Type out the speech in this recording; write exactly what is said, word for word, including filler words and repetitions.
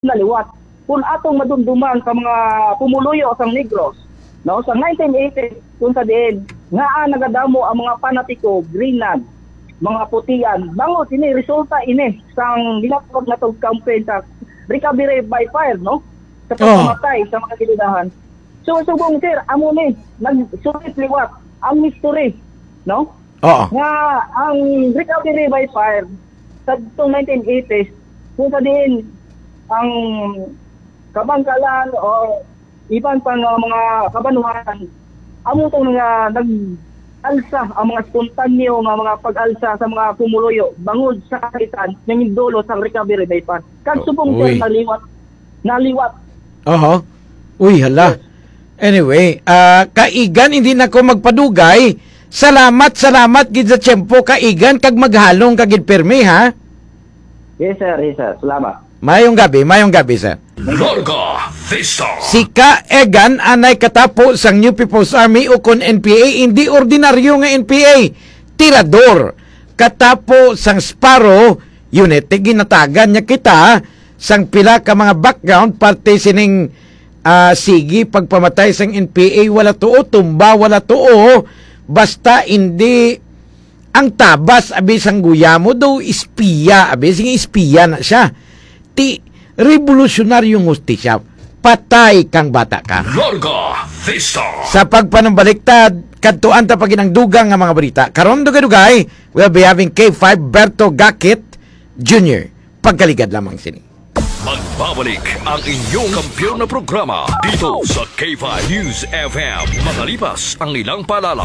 na liwat. Kung atong madumduman sa mga pumuluyo sang Negros, no, sa nineteen eighty, kung sa diin nga nagadamo ang mga panatiko, Greenland, mga putian, bangod ini, resulta ini sang ginatawag natong campaign sa recovery by fire, no? Sa Oh. pagkamatay sa mga gidudahan. So, subong, sir, amo ni, nagsulit liwat ang history, no? Oo. Nga ang recovery by fire sa itong nineteen eighties, kung sa diin ang kabangkalan o iban pa nga mga kabanuhan, amo tong nga nag-alsa ang mga spontanyo nga mga pag-alsa sa mga pumuluyo bangod sa kasakitan nga nindulot sang recovery by fire. Kag subong, sir, Uy. naliwat, naliwat. Oho. Uy, hala. Yes. Anyway, ah, kaigan, hindi na ko magpadugay. Salamat, salamat gid sa tiyempo, kaigan, kag maghalong ka gid pirmi, ha? Yes, sir. Yes, sir. Salamat. Mayong gabi, mayong gabi, sir. Larga Vista. Si Ka Egan anay katapo sang New People's Army ukon N P A, hindi ordinaryo nga N P A. Tirador. Katapo sang Sparrow Unit, ginatagan niya kita sang pila ka mga background parte sining, ah, sige pagpamatay sang N P A, wala tuo, tumba, wala tuo, basta hindi ang tabas, abi, sang guyamo, daw espiya, abi, sige, espiya na siya. Ti, revolusyonaryong hustisya, patay kang bata ka. Larga Vista. Sa pagpanumbaliktad, kadtuan ta pa gid ang dugang nga mga balita. Karon, dugay-dugay, we'll be having K five Berto Gakit Junior. Pagkaligad lamang sini. Magbabalik ang inyong kampiyon na programa dito sa K five News F M. Makalipas ang ilang paalala,